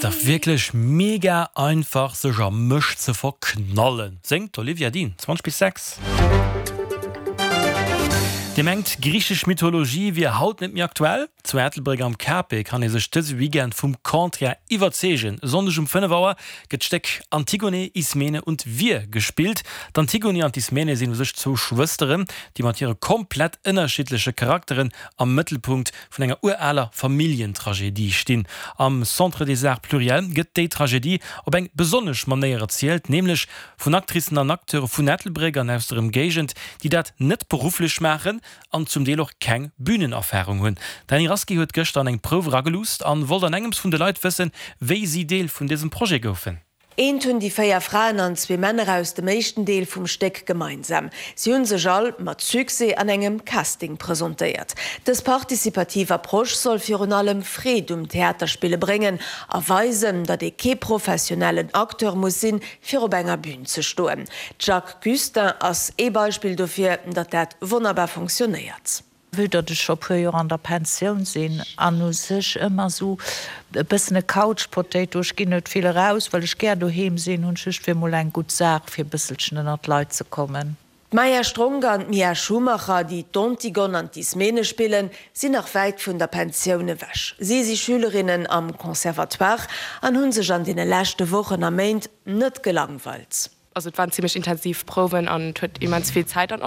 dach wierklech mega einfach sech a mech ze verknallen, séngt d'Olivia Dean. 20 bis 6. Dir mengt, griichesch Mythologie wier haut net méi aktuell? Zu Ettelbréck am KP kann ee sech dëse Weekend vum Contraire iwwerzeegen. E Sonndeg um 5 Auer gëtt d'Stéck Antigone, Ismene und wir gespillt. D'Antigone an d'Ismene sinn u sech zwou Schwësteren, déi mat hire komplett ënnerschiddleche Charakteren am Mëttelpunkt vun enger uraler Familljentragedie stinn. Am Centre des Arts Pluriels gëtt déi Tragedie op eng besonnesch Manéier erzielt, nämlech vun Actricen an Acteure vun Ettelbréck an aus der Ëmgéigend, déi dat net berufflech maachen an zum Deel och keng Bünenerfarung hunn. D'Dany Rasqué huet gëschter an eng Prouf erageluusst an wollt an engems vun de Leit wëssen, wéi si Deel vun dësem Projet goufen. Eent hunn déi 4 Fraen an zwee Männer aus dem éischten Deel vum Stéck gemeinsam, si hunn sech all mat Succès an engem Casting presentéiert. Dës participativ Approche soll virun allem Freed um Theaterspille bréngen a weisen, datt ee kee professionellen Acteur muss sinn, fir op enger Bün ze stoen. D'Jacques Gustin ass ee Beispill dofir, datt dat wonnerbar fonctionnéiert. Vue datt ech scho puer Joer an der Pensioun sinn an u sech ëmmer esou e bëssen e Couch Potato, ech ginn net vill eraus, well ech gär doheem sinn, hunn ech geduecht, wier mol eng gutt Saach fir e bësselchen ënnert d'Leit ze kommen. D'Maya Stronk an d'Mia Schumacher, déi d'Antigone an d'Ismene spillen, sinn nach wäit vun der Pensioun ewech. Si si Schülerinnen am Conservatoire an hu sech an deene leschte Wochen a Méint net gelangweilt. Also et waren zimmlech intensiv Prouwen an et huet immens vill Zäit an.